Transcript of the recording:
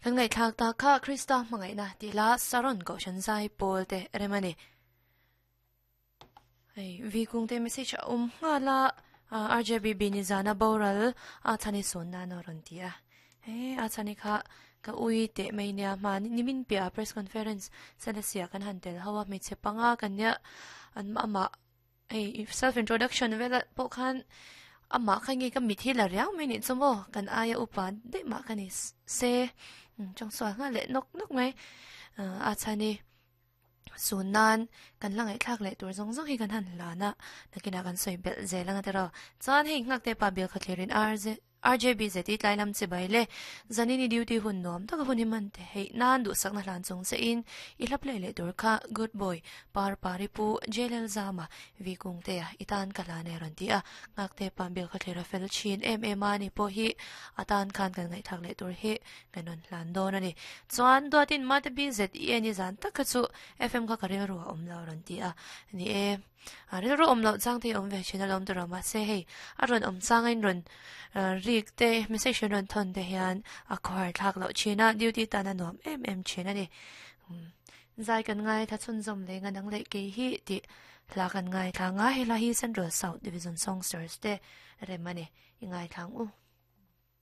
Kan ngaihthlak ta kha Krista hmangaihna tih hla Saron Kohhran zai pawl te rem a ni. Hei V kung te message a awm nghal a, RJBB ni zana boral a chhani sawn nan a rawn ti a. He a chhani kha ka ui teh mai nia hma nimin piah press conference Selesia kan han tel ho a hmeichhe panga kan nia an amah hei self introduction vela pawh khan amah kha nge ka mit hi la riau mai nih chu maw kan aia upa daih mah ka ni se chawngsual nghal leh nawk nawk mai a chhani Sun nan kan la ngaihthlak leh tur zawng zawng hi kan han hlan a, nakinah kan sawi belh zel ang a tiraw. Chuan hei nghak te pa bial kha thlirin RZ RJBZ i tlai lam che bai le, zanin i duty hun nuam taka hun hi man te heih nan duhsakna hlan chung che in i hla play leh tur kha good boy par pari pu J Lalzama Vi Kungtea i tan ka hlan e rawn ti a, nghak te pa bial kha thlir a fel thin em em a ni pawh hi a tan khan kan ngaihthlak leh tur hi Kan rawn hlan dawn a ni. Chuan Duatin Mate BZE ni zan tak kha chu FM kha ka rilru a awm lo a rawn ti a. Ni e, a rilru awm loh chang te hi awm ve thin alawm tawh lo mahse hei a rawn awm changa in rawn rik te message in rawn thawn te hian a khawhar thlak loh thin a, duty tan a nuam em em thin a ni. Zai kan ngaithla chhunzawm leh ngan ang leh kei hi tih hla kan ngaithla ang a, he hla hi Central South Division Songsters te rem a ni. I ngaithla ang u.